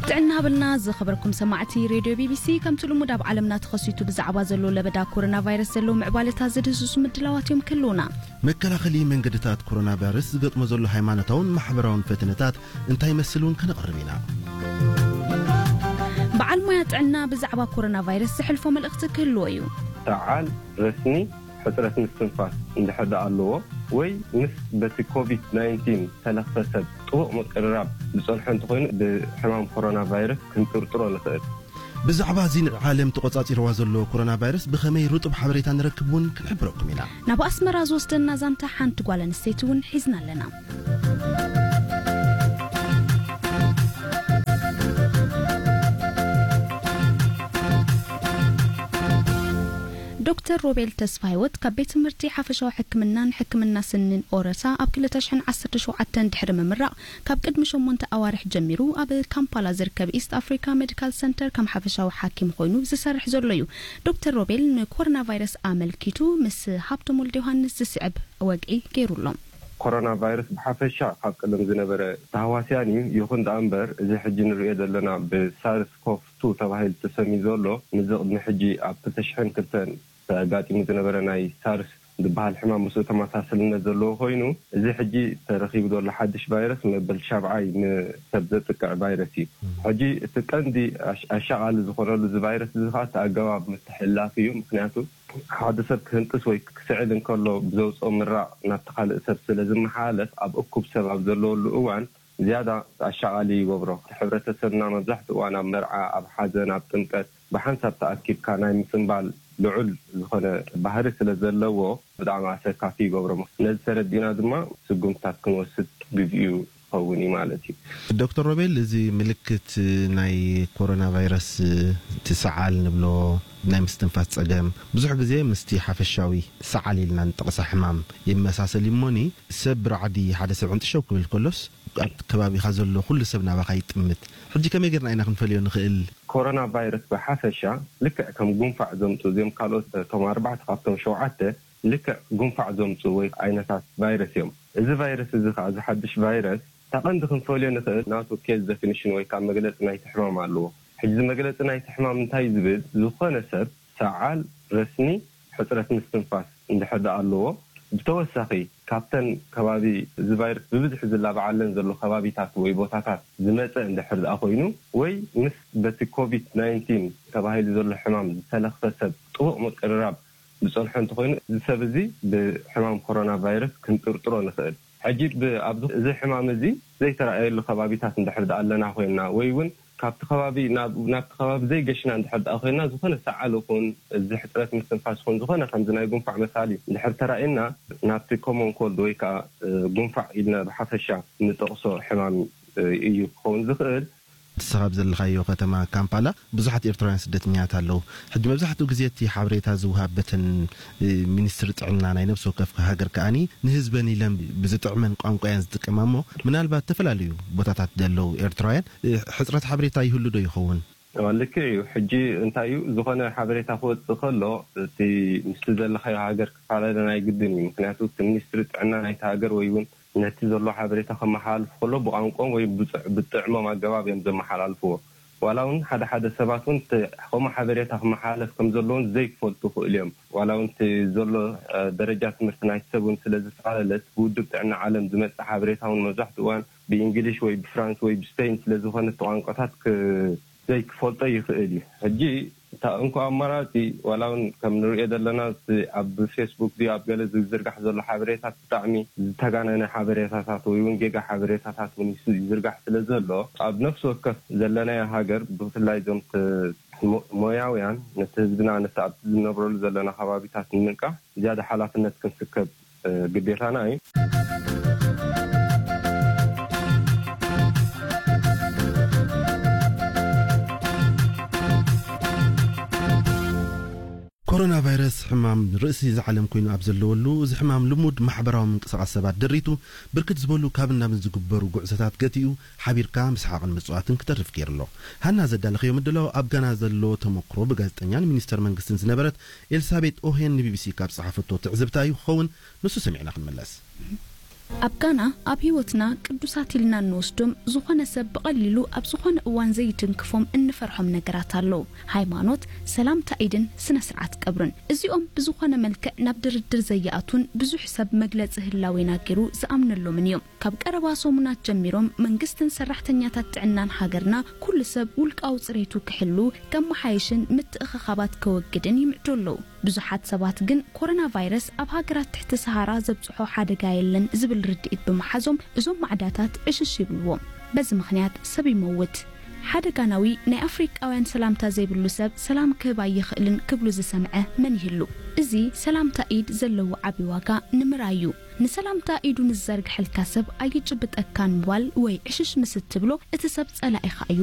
ጥዕና ሃበልና ዝኸበርኩም ሰማዕቲ ሬድዮ ቢቢሲ። ከምቲ ልሙድ ኣብ ዓለምና ተኸሲቱ ብዛዕባ ዘሎ ለበዳ ኮሮና ቫይረስ ዘለዉ ምዕባለታት ዝድህስሱ ምድላዋት እዮም ክህልዉና። መከላኸሊ መንገድታት ኮሮና ቫይረስ ዝገጥሞ ዘሎ ሃይማኖታውን ማሕበራውን ፈተነታት እንታይ ይመስል እውን ከነቕርብ ኢና። በዓል ሞያ ጥዕና ብዛዕባ ኮሮና ቫይረስ ዘሕልፎ መልእኽቲ ክህልዎ እዩ። ሰዓል፣ ረስኒ፣ ሕጽረት ምስትንፋስ እንድሕር ደኣ ኣለዎ ወይ ምስ በቲ ኮቪድ ናይንቲን ተለኽፈ ሰብ ጥቡቕ ምቅርራብ ዝጸንሖ እንተኾይኑ፣ ብሕማም ኮሮና ቫይረስ ክንጥርጥሮ ንኽእል። ብዛዕባ እዚ ንዓለም ተቖጻጺርዋ ዘሎ ኮሮና ቫይረስ ብኸመይ ርጡብ ሓበሬታ ንረክብ እውን ክንሕብረኩም ኢና። ናብ ኣስመራ ዝወስደና ዛንታ ሓንቲ ጓል ኣንስተይቲ እውን ሒዝና ኣለና። ዶክተር ሮቤል ተስፋ ህይወት ካብ ቤት ትምህርቲ ሓፈሻዊ ሕክምናን ሕክምና ስኒን ኦረታ ኣብ ክልተ ሽሕን ዓሰርተ ሸውዓተን ድሕሪ ምምራቕ፣ ካብ ቅድሚ ሸሞንተ ኣዋርሕ ጀሚሩ ኣብ ካምፓላ ዝርከብ ኢስት ኣፍሪካ ሜዲካል ሰንተር ከም ሓፈሻዊ ሓኪም ኮይኑ ዝሰርሕ ዘሎ እዩ። ዶክተር ሮቤል ንኮሮና ቫይረስ ኣመልኪቱ ምስ ሃብቶም ወልደ ዮሃንስ ዝስዕብ ወግዒ ገይሩ ኣሎ። ኮሮና ቫይረስ ብሓፈሻ ካብ ቀደም ዝነበረ ተሃዋስያን እዩ። ይኹን ደኣ እምበር፣ እዚ ሕጂ ንርእዮ ዘለና ብሳርስ ኮቭ ቱ ተባሂሉ ተሰምዩ ዘሎ፣ ንዚ ቅድሚ ሕጂ ኣብ ክልተ ሽሕን ክልተን ተጋጢሙ ዝነበረ ናይ ሳርስ ዝበሃል ሕማም ምስኡ ተመሳሰልነት ዘለዎ ኮይኑ፣ እዚ ሕጂ ተረኺቡ ዘሎ ሓድሽ ቫይረስ መበል ሻብዓይ ንሰብ ዘጥቅዕ ቫይረስ እዩ። ሕጂ እቲ ቀንዲ ኣሽ-፣ ኣሻቓሊ ዝኾነሉ እዚ ቫይረስ እዚ ኸዓ እቲ ኣገባብ ምትሕልላፍ እዩ። ምኽንያቱ ሓደ ሰብ ክህንጥስ ወይ ክስዕል እንከሎ ብዘውፅኦ ምራቕ ናብቲ ካልእ ሰብ ስለ ዝመሓላለፍ፣ ኣብ እኩብ ሰብ ኣብ ዘለወሉ እዋን ዝያዳ ኣሻቓሊ ይገብሮ። እቲ ሕብረተሰብና መብዛሕትኡ እዋን ኣብ መርዓ፣ ኣብ ሓዘን፣ ኣብ ጥምቀት ብሓንሳብ ተኣኪብካ ናይ ምጽንባል ልዑል ዝኾነ ባህሪ ስለ ዘለዎ፣ ብጣዕሚ ኣሰካፊ ይገብሮ። ነዚ ተረዲእና ድማ ስጉምትታት ክንወስድ ግዜኡ ክኸውን እዩ ማለት እዩ። ዶክተር ሮቤል፣ እዚ ምልክት ናይ ኮሮና ቫይረስ፣ እቲ ሰዓል ንብሎ፣ ናይ ምስትንፋስ ጸገም፣ ብዙሕ ግዜ ምስቲ ሓፈሻዊ ሰዓል ኢልና ንጠቕሳ ሕማም ይመሳሰል እዩ። እሞኒ፣ ሰብ ብራዕዲ ሓደ ሰብ ዕንጥሸው ክብል ከሎስ፣ ኣብቲ ከባቢኻ ዘሎ ኩሉ ሰብ ናባኻ ይጥምት። ሕጂ ከመይ ጌርና ኢና ክንፈልዮ ንኽእል? ኮሮና ቫይረስ ብሓፈሻ ልክዕ ከም ጉንፋዕ ዘምጽኡ፣ እዚኦም ካልኦት፣ እቶም ኣርባዕተ ካብቶም ሸውዓተ ልክዕ ጉንፋዕ ዘምጽኡ ወይ ዓይነታት ቫይረስ እዮም። እዚ ቫይረስ እዚ ኸዓ፣ እዚ ሓድሽ ቫይረስ፣ እታ ቀንዲ ክንፈልዮ ንኽእል ናቱ ኬዝ ደፊኒሽን ወይ ከዓ መግለጺ ናይቲ ሕማም ኣለዎ። ሕጂ እዚ መግለጺ ናይቲ ሕማም እንታይ ዝብል፣ ዝኾነ ሰብ ሰዓል፣ ረስኒ፣ ሕጽረት ምስትንፋስ እንድሕር ደኣ ኣለዎ፣ ብተወሳኺ ካብተን ከባቢ እዚ ቫይረስ ብብዝሒ ዝላባዓለን ዘሎ ከባቢታት ወይ ቦታታት ዝመጸ እንድሕር ደኣ ኮይኑ፣ ወይ ምስ በቲ ኮቪድ ናይንቲን ተባሂሉ ዘሎ ሕማም ዝተለኽፈ ሰብ ጥቡቕ ምቅርራብ ዝጸንሖ እንተኾይኑ፣ እዚ ሰብ እዚ ብሕማም ኮሮና ቫይረስ ክንጥርጥሮ ንኽእል። ሕጂ ብ-፣ ኣብዚ፣ እዚ ሕማም እዚ ዘይተራእየሉ ከባቢታት እንድሕር ደኣ ኣለና ኮይንና፣ ወይ እውን ካብቲ ከባቢ ናብ፣ ናብቲ ከባቢ ዘይገሽና እንድሕር ደኣ ኮይንና፣ ዝኾነ ሰዓል ይኹን፣ እዚ ሕጽረት ምስትንፋስ ይኹን፣ ዝኾነ ከምዚ ናይ ጉንፋዕ መሳሊ እንድሕር ተራእየና፣ ናብቲ ኮመን ኮልድ ወይ ከዓ፣ እ፣ ጉንፋዕ ኢልና ብሓፈሻ ንጠቕሶ ሕማም፣ እ፣ እዩ ክኸውን ዝኽእል። ንስኻ ኣብ ዘለኻዮ ከተማ ካምፓላ ብዙሓት ኤርትራውያን ስደተኛታት ኣለዉ። ሕጂ መብዛሕትኡ ግዜ እቲ ሓበሬታ ዝወሃብ በተን፣ እ፣ ሚኒስትሪ ጥዕና ናይ ነብሲ ወከፍ ሃገር ከኣኒ ንህዝበን ኢለን ብዝጥዕመን ቋንቋ እየን ዝጥቀማ። እሞ ምናልባት ዝተፈላለዩ ቦታታት ዘለዉ ኤርትራውያን፣ እ፣ ሕጽረት ሓበሬታ ይህሉ ዶ ይኸውን? እዋ፣ ልክዕ እዩ። ሕጂ እንታይ እዩ፣ ዝኾነ ሓበሬታ ክወጽእ ከሎ፣ እቲ ምስቲ ዘለኻዮ ሃገር ክፈላለ ናይ ግድን እዩ። ምኽንያቱ እቲ ሚኒስትሪ ጥዕና ናይቲ ሃገር ወይ እውን ነቲ ዘሎ ሓበሬታ ከመሓላልፉ ከሎ ብቋንቋኦም ወይ ብጽዕ-፣ ብጥዕሞም ኣገባብ እዮም ዘመሓላልፍዎ። ዋላ እውን ሓደ ሓደ ሰባት እውን እቲ ከምኡ ሓበሬታ ክመሓላለፍ ከም ዘለዎን ዘይክፈልጡ ይኽእሉ እዮም። ዋላ እውን እቲ ዘሎ፣ እ፣ ደረጃ ትምህርቲ ናይቲ ሰብ እውን ስለ ዝተፈላለለ፣ እቲ ብውድብ ጥዕና ዓለም ዝመጽእ ሓበሬታ እውን መብዛሕትኡ እዋን ብእንግሊሽ ወይ ብፍራንስ ወይ ብስፔን ስለ ዝኾነ፣ እቲ ቋንቋታት ክ-፣ ዘይክፈልጦ ይኽእል እዩ። ሕጂ እታ እንኮ ኣማራጺ፣ ዋላ እውን ከም ንርእዮ ዘለና፣ እቲ ኣብ ፌስቡክ ድዩ ኣብ ገለ ዝዝርጋሕ ዘሎ ሓበሬታት ብጣዕሚ ዝተጋነነ ሓበሬታታት ወይ እውን ጌጋ ሓበሬታታት እውን ይስ-፣ ይዝርጋሕ ስለ ዘሎ፣ ኣብ ነፍሲ ወከፍ ዘለናዮ ሃገር፣ ብፍላይ እዞም ተ-፣ ሞ-፣ ሞያውያን፣ ነቲ ህዝብና፣ ነቲ ኣብቲ ዝነብረሉ ዘለና ከባቢታት ንምንቃሕ ዝያዳ ሓላፍነት ክንስከብ፣ እ፣ ግዴታና እዩ። ኮሮና ቫይረስ ሕማም ርእሲ እዚ ዓለም ኮይኑ ኣብ ዘለወሉ፣ እዚ ሕማም ልሙድ ማሕበራዊ ምንቅስቓስ ሰባት ደሪቱ፣ ብርክት ዝበሉ ካብን ናብን ዝግበሩ ጉዕዞታት ገቲኡ፣ ሓቢርካ ምስሓቕን ምጽዋትን ክተርፍ ገይሩ ኣሎ። ሃና ዘዳለኸዮ ምድላው ኣብ ጋና ዘሎ ተመክሮ ብጋዜጠኛን ሚኒስተር መንግስትን ዝነበረት ኤልሳቤጥ ኦሄን ንቢቢሲ ካብ ጸሓፈቶ ትዕዝብታ እዩ ክኸውን፣ ንሱ ሰሚዕና ክንምለስ። ኣብ ጋና ኣብ ህይወትና ቅዱሳት ኢልና እንወስዶም ዝኾነ ሰብ ብቐሊሉ ኣብ ዝኾነ እዋን ዘይትንክፎም እንፈርሖም ነገራት ኣለዉ። ሃይማኖት፣ ሰላምታ ኢድን ስነ ስርዓት ቀብርን። እዚኦም ብዝኾነ መልክዕ ናብ ድርድር ዘየኣቱን ብዙሕ ሰብ መግለጺ ህላዌና ገይሩ ዝኣምነሎምን እዮም። ካብ ቀረባ ሰሙናት ጀሚሮም መንግስትን ሰራሕተኛታት ጥዕናን ሃገርና ኩሉ ሰብ ውልቃዊ ጽሬቱ ክሕሉ፣ ከመሓይሽን ምትእኽኻባት ከወግድን ይምዕዱ ኣለዉ። ብዙሓት ሰባት ግን ኮሮና ቫይረስ ኣብ ሃገራት ትሕቲ ሰሃራ ዘብጽሖ ሓደጋ የለን ዝብል ርድኢት ብምሓዞም እዞም ማዕዳታት ዕሽሽ ይብልዎም። በዚ ምኽንያት ሰብ ይመውት። ሓደጋናዊ ናይ ኣፍሪቃውያን ሰላምታ ዘይብሉ ሰብ ሰላም ክህብ ኣይኽእልን ክብሉ ዝሰምዐ መን ይህሉ? እዚ ሰላምታ ኢድ ዘለዎ ዓቢ ዋጋ ንምርኣይ እዩ። ንሰላምታ ኢዱ ንዝዘርግሐልካ ሰብ ኣይጭብጠካን ምባል ወይ ዕሽሽ ምስ እትብሎ እቲ ሰብ ጸላኢኻ እዩ።